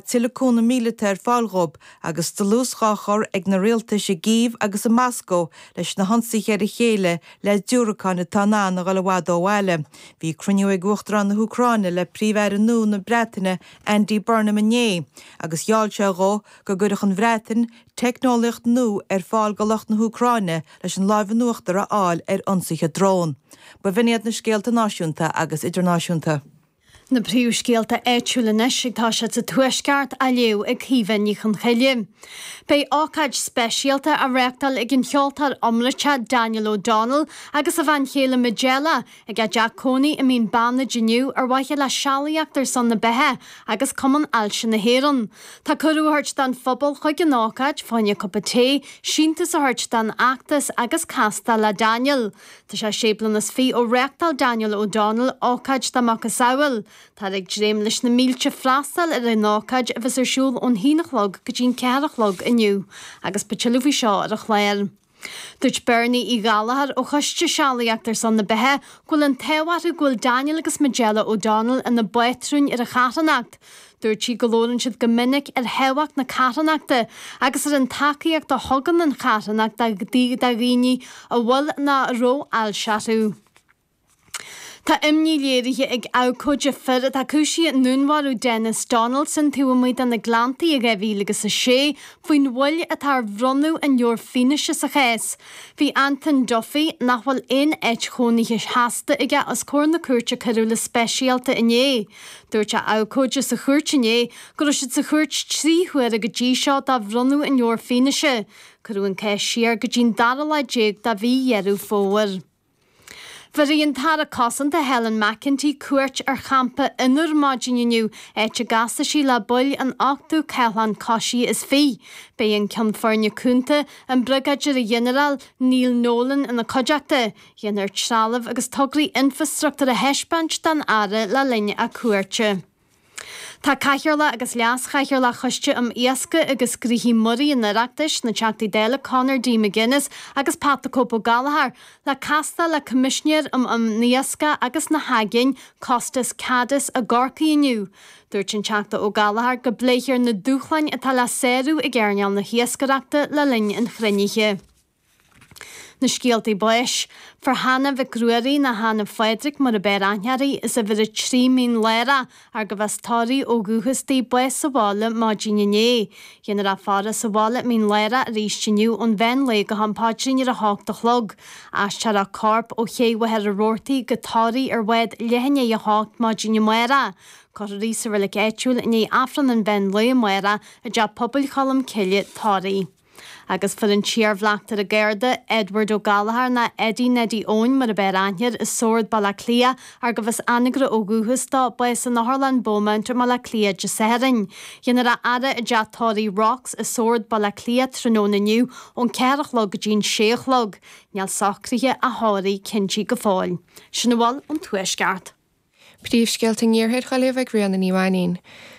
tuilleadh cúnamh míleata ar fáil dhóibh agus dlús dhá chur ag na rialtais i gCív agus i Moscó leis na hionsaithe ar a chéile le diúracáin atá in ann a dhul i bhfad ó bhaile. Bhí cruinniú ag Uachtarán na hÚcráine le Príomh-Aire nua na Breataine Andy Burnham inné agus gheall sé dhó go gcuirfeadh an Bhreatain teicneolaíocht nua ar fáil go lucht na hÚcráine leis an láimh in uachtar a fháil ar ionsaithe drón. Ba bh'in iad na scéalta náisiúnta agus idirnáisiúnta. Na príomhscéalta áitiúla anois ag toiseacht sa Tuaisceart á léamh ag Caoimhe Ní Chonchoille. Beidh ócáid speisialta á reáchtáil ag an cheoltóir iomráiteach Daniel O'Donnell agus a bhean chéile Majella ag a dteach cónaí i Mín Bannaid inniu ar mhaithe le Sealaíocht ar son na Beatha agus Cumann Ailse na hÉireann. Tá cuireadh á thabhairt don phobal chuig an ócáid fá choinne cupa tae, síntiús a thabhairt don fheachtas agus castáil le Daniel. Tá sé sé bliana is fi ó reáchtáil Daniel O'Donnell ócáid dá macasamhail. Táthar ag dréim leis na mílte freastal ar an ócáid a bheas ar siúl ón haon a chlog go dtí an ceathair a chlog inniu agus beidh tuilleadh faoi seo ar an chlár. Dúirt Bernie Uí Ghallchóir ó Choiste Sealaíocht ar son na Beatha go bhfuil an t-ádh orthu go bhfuil Daniel agus Majella O'Donnell ina bpátrúin ar an charthanacht. Dúirt sí go labhrann siad go minic ar thábhacht na carthanachta agus ar an tacaíocht a thugann an charthanacht do dhaoine a bhfuil nó a raibh ailse orthu. Tá imní léirithe ag abhcóide fir atá cúisithe i ndúnmharú Denis Donaldson taobh amuigh de na Gleanntaí i 2006 faoin mhoill atá ar bhronnadh an leabhair fianaise sa chás. Bhí Anton Duffy, nach bhfuil aon áit chónaithe sheasta aige, os comhair na Cúirte Coiriúla Speisialta inné. Dúirt a abhcóide sa chúirt inné go raibh siad sa chúirt 3 huaire go dtí seo do bhronnadh an leabhair fianaise. Cuireadh an cás siar go dtí'n dara lá déag de mhí Dheireadh Fómhair. Bhéarfaidh an tAire Cosanta Helen McEntee cuairt ar champa Fhionnúr maidin inniu, áit a gcasfaidh sí le baill an ochtú Cathlán Coisithe is Fiche. Beidh an Ceann Foirne Cúnta, an Briogáidire-Ghinearál Neil Nolan ina cuideachta. Déanfar trealamh agus tograí infreastruchtúir a thaispeáint don Aire le linn a cuairte. Tá Cathaoirleach agus Leas-Chathaoirleach Choiste um Iascaigh agus Gnoithí Muirí an Oireachtais, na Teachtaí Dála Conor D. McGuinness agus Pat the Cope Ó Gallchóir, le castáil le Coimisinéir um an Iascach agus na hAigéin, Costas Kadis i gCorcaigh inniu. Dúirt an Teachta Ó Gallchóir go bpléifear na dúshláin atá le sárú ag earnáil na hiascaireachta le linn an chruinnithe. Na scéaltaí báis. Fuair Hannah Mhic Ruairí, nó Hannah Phádraig mar ab fhearr aithne uirthi, as uimhir 3 Mín Lárach, arb as Toraigh ó dhúchas di, bás sa bhaile maidin inné. Déanfar a faire sa bhaile i Mín Lárach arís inniu ón mheán lae go ham paidrín ar a hocht a chlog. Aistreofar a corp ó Ché Mhachaire Rabhartaigh go Toraigh ar bhád leath i ndiaidh a hocht maidin amárach. Cuirfear í sa reilig áitiúil i ndiaidh Aifreann an mheán lae amárach i dTeach Pobail Cholm Cille, Toraigh. Agus fuair an t-iarbhleachtaire Garda, Edward Ó Gallchóir, nó Eddie Neidí Eoin mar ab fhearr aithne air, i Sord, Baile Átha Cliath, arb as Anagaire ó dhúchas dó, bás in Otharlann Beaumont i mBaile Átha Cliath Dé Sathairn. Déanfar a fhaire i dTeach Tórraimh Rocks i Sord, Baile Átha Cliath, tráthnóna inniu ón 4 a chlog go dtí'n 6 a chlog. Níl socruithe a thórraimh cinnte go fóill. Sin a bhfuil ón Tuaisceart. Príomhscéalta an Iarthair á léamh ag Ríona Ní Mhainín.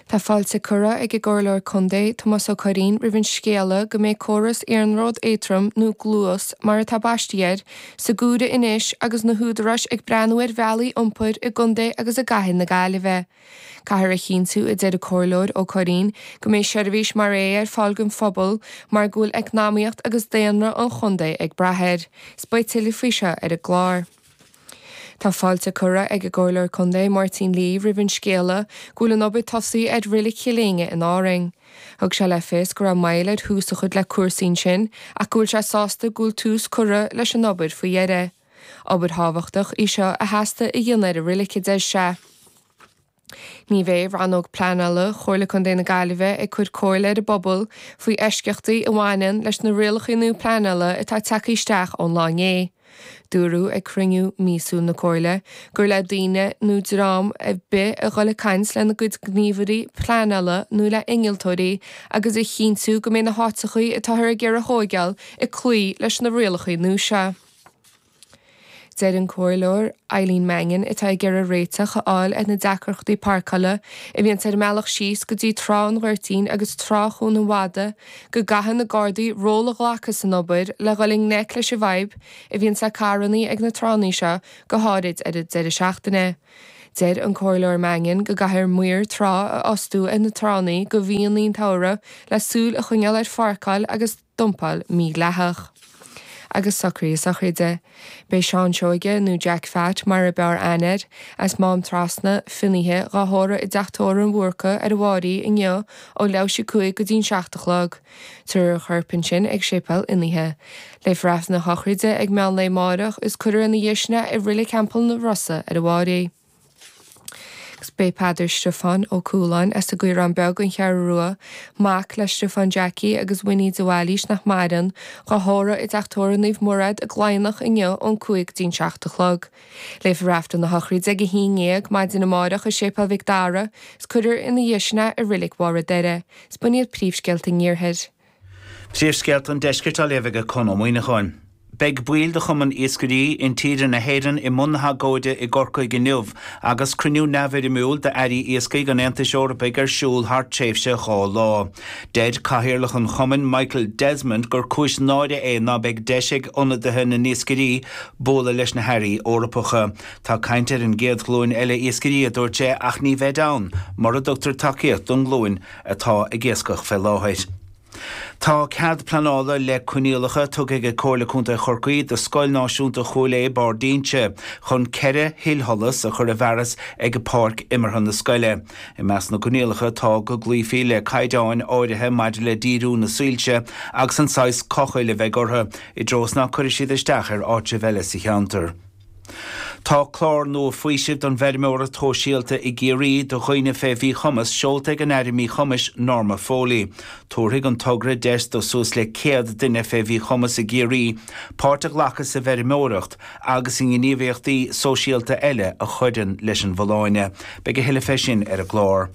Tá fáilte curtha ag an gComhairleoir Contae, Tomás Ó Curraoin, roimh an scéala go mbeidh córas iarnród éadtrom, nó Gluas mar atá baistí air, sa gcomhaireamh anois agus na húdaráis ag breathnú ar bhealaí iompair i gcontae agus i gcathair na Gaillimhe. Caithfear a chinntiú, a deir an Comhairleoir Ó Curraoin, go mbeidh seirbhís mar é ar fáil don phobal mar go bhfuil eacnamaíocht agus daonra an chontae ag brath air. 'S beidh tuilleadh faoi seo ar an gclár. Tá fáilte curtha ag an gComhairleoir Contae Máirtín Lee roimh an scéala go bhfuil an obair tosaithe ar Reilig Chill Éinne in Árainn. Thug sé le fios go raibh moill ar thús a chur le cúrsaí ansin ach go bhfuil sé sásta go bhfuil tús curtha leis an obair faoi dheireadh. Obair thábhachtach í seo a theastaigh a dhéanamh ar an reilig, a deir sé. Ní bheidh Rannóg Pleanála Chomhairle Contae na Gaillimhe ag cur comhairle ar an bpobal faoi eisceachtaí a bhaineann leis na rialacha nua pleanála atá tagtha isteach ón lá inné. Dúradh ag cruinniú míosúil na Comhairle gur le daoine nó dream ar bith a dhul ag caint lena gcuid gníomhairí pleanála nó le innealtóirí agus a chinntiú go mbeidh na háiteachaí atáthar ag iarraidh a thóigeáil ag cloí leis na rialacha nua seo. Deir an Comhairleoir Eileen Mannion, atá ag iarraidh réiteach a fháil ar na deacrachtaí páirceála a bhíonns ar an mbealach síos go dtí Trá an Ghoirtín agus Trá Chuan an Mhada, go gcaithfidh na Gardaí ról a ghlacadh san obair le dhul i ngleic leis an bhfadhb a bhíonns le carrannaí ag na tránna seo, go háirid ar an deireadh seachtaine. Deir an Comhairleoir Mannion go gcaithfear maoir trá a fhostú ar na tránna do mhíonna an tsamhraidh le súil a choinneáil ar pháirceáil agus dumpáil mhídhleathach. Agus socruithe sochraide. Beidh Seán Seoige, nó Jack Phat mar ab fhearr aithne air, as Mám Trasna, Finnaithe, dhá thórramh i dTeach Tórraimh an Bhúrca ar an bhFáirí inniu ó leathuair théis 5 go dtí'n 7 a chlog. Tabharfar a chorp ansin ag Séipéal Fhinnaithe. Léifear Aifreann a shochraide ag meán lae amáireach is cuirfear ina dhiaidh sin é i Reilig Theampall na Rosa ar an bhFáirí. Agus b'é Peadar Stiofán Ó Cualáin as an gCaorán Beag, An Cheathrú Rua, mac le Stiofán Jackie agus Winnie de Bhailís nach maireann, dhá thórramh i dTeach Tórraimh Naomh Murad i gCladhnach inniu ón 5 go dtí'n 7 a chlog. Léifear Aifreann na sochraide ag 11 maidin amáireach i Séipéal Mhic Dara is cuirfear ina dhiaidh sin é i Reilig Bharr an Doire. Is b'in iad príomhscéalta an Iarthair. Príomhscéalta an Deiscirt á léamh ag Conn Ó Muíneacháin. Beidh baill de Chumann Iascairí Intíre na hÉireann i mbun na hagóide i gCorcaigh inniu agus cruinniú neamhfhoirmiúil d'Airí Iascaigh an Aontais Eorpaigh ar siúl thar tréimhse 2 lá. Deir Cathaoirleach an chumainn, Michael Desmond, gur cúis náire é ná beidh deis ag ionadaithe na n-iascairí bualadh leis na hairí Eorpacha. Tá caint ar an gcéad ghlúin eile iascairí, a dúirt sé, ach ní bheid ann mura dtugtar tacaíocht don nglúin atá ag iascach fé láthair. Tá cead pleanála le coinníollacha tugtha ag Comhairle Contae Chorcaí do Scoil Náisiúnta Chúil Aodha, Barr d'Inse, chun 4 thuilsholas a chur i bhfearas ag páirc imeartha na scoile. I measc na gcoinníollacha tá go gcloífí le caighdeáin áirithe maidir le díriú na soilse agus an saghas cochaill a bheidh orthu, i dtreo is ná cuirfidh siad isteach ar áitribh eile sa cheantar. Tá clár nua faoisimh don bhfeirmeoireacht shóisialta i gCiarraí do dhaoine fé mhíchumas seolta ag an Aire Míchumais Norma Foley. Tabharfaidh an togra deis do suas le 100 duine fé mhíchumas i gCiarraí páirt a ghlacadh sa bhfeirmeoireacht agus i ngníomhaíochtaí sóisialta eile a chuireann leis an bhfolláine. Beidh a thuilleadh fé sin ar an gclár.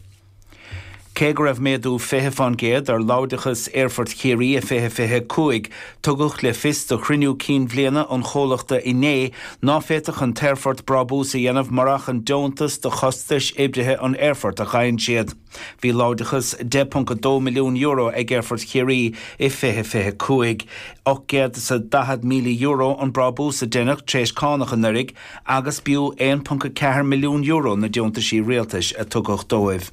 Cé go raibh méadú 20% ar láimhdeachas Aerfort Chiarraí i 2025, tugadh le fios do chruinniú cinn bhliana an chomhlachta inné ná féadfadh an t-aerfort brábús a dhéanamh murach an deontas do chostais oibrithe an aerfoirt a ghaibheann siad. Bhí láimhdeachas €10.2 milliún ag Aerfort Chiarraí i 2025. €840,000 an brábús a deineadh tar éis cánach anuraidh agus b'fhiú €1.4 milliún na deontaisí rialtais a tugadh dóibh.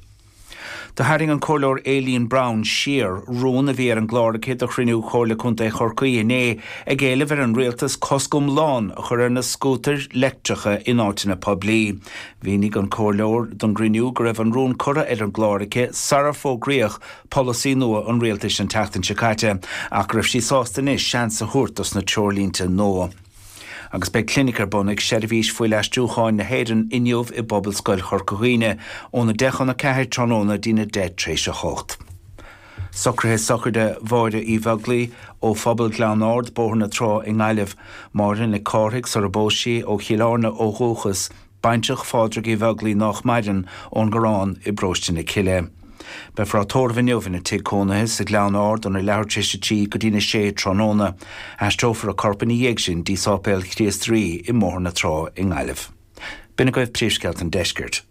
Do tharraing an Comhairleoir Aileen Browne siar rún a bhí ar an gclár aici do chruinniú Chomhairle Contae Chorcaí inné ag éileamh ar an Rialtas cosc iomlán a chur ar na scútair leictreacha in áiteanna poiblí. Mhínigh an Comhairleoir don gcruinniú go raibh an rún curtha ar an gclár aici sarar fógraíodh polasaí nua an Rialtais an tseachtain seo caite ach go raibh sí sásta anois seans a thabhairt dos na treoirlínte nua. Agus beidh clinic ar bun ag Seirbhís Fuilaistriúcháin na hÉireann inniu i bPobalscoil Chorca Dhuibhne óna 10 chun 4 tráthnóna dtína 10 tréis 8. Socruithe sochraide Mháire Uí Bheaglaoi ó Phobal Ghleann Ard, Bóthar na Trá i nGaillimh. Máire Nic Cárthaigh sar a bpós sí ó Chill Airne ó dhúchas. Baintreach Phádraig Uí Bheaglaoi nách maireann, ón gCorrán i bParóiste na Cille. Beifear á tórramh inniu ina tigh cónaithe sa Ghleann Ard óna leathuair tar éis a 3 go dtína 6 tráthnóna. Aistreofar a corp ina dhiaidh sin dtí Sáipéal Chríost Rí i mBóthar na Trá i nGaillimh. B'in agaibh príomhscéalta an deiscirt.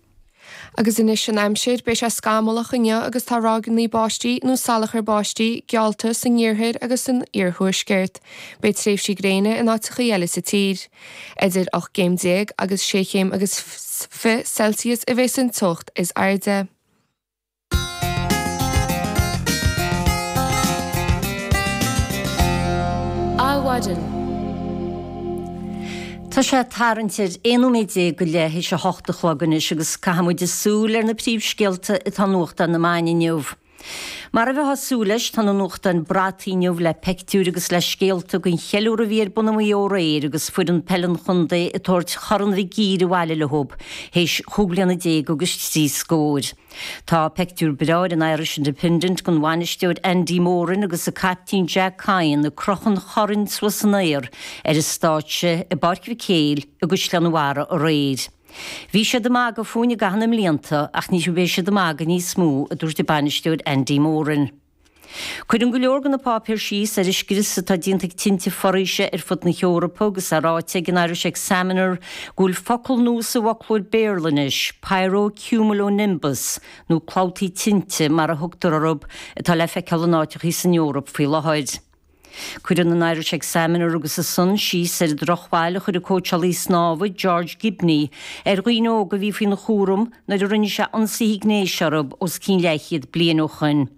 Agus anois an aimsir, beidh sé scamallach inniu agus tá ráigeanna báistí nó salachar báistí geallta san iarthar agus san iarthuaisceart. Beidh tréimhsí gréine in áiteachaí eile sa tír. Idir 18 gcéim agus 6 chéim agus 20 Celsius a bheas an teocht is airde. Adhmhaidin. Tá sé tarraingt ar 11 nóiméad go leith théis a hocht a chlog anois agus caithfidh muid súil ar na príomhscéalta atá i nuachtáin na meáin inniu. Mar a bheifeá ag súil leis, tá na nuachtáin brataithe inniu le peictiúir agus le scéalta den cheiliúradh a bhí ar bun i Maigh Eo aréir agus foireann peile an chontae ag tabhairt Chorn Mhic Uidhir abhaile leo théis chúig bliana déag agus trí scóir. Tá peictiúr breá ar an Irish Independent den bhainisteoir Andy Moran agus a caiptín Jack Kyne ag crochadh an choirn suas san aer ar an stáitse i bPáirc Mhic Éil i gCaisleán an Bharraigh aréir. Bhí siad ag magadh fúinn i gcaitheamh na mblianta ach ní bheidh siad ag magadh níos mó, a dúirt an bainisteoir Andy Moran. Cuireann go leor de na páipéir síos ar an scrios atá déanta ag tinte foraoise ar fud na hEorpa agus é ráite ag an Irish Examiner go bhfuil focal nua sa bhfoclóir Béarla anois, pyrocumulonimbus, nó clabhtaí tinte mar a thugtar orthu, atá le feiceáil in áiteachaí san Eoraip faoi láthair. Cuireann an Irish Examiner agus an Sun síos ar an drochbhail a chuir an cóitseálaí snámha George Gibney ar dhaoine óga a bhí faoina chúram nuair a rinne sé ionsaithe gnéis orthu os cionn leathchéad bliain ó shoin.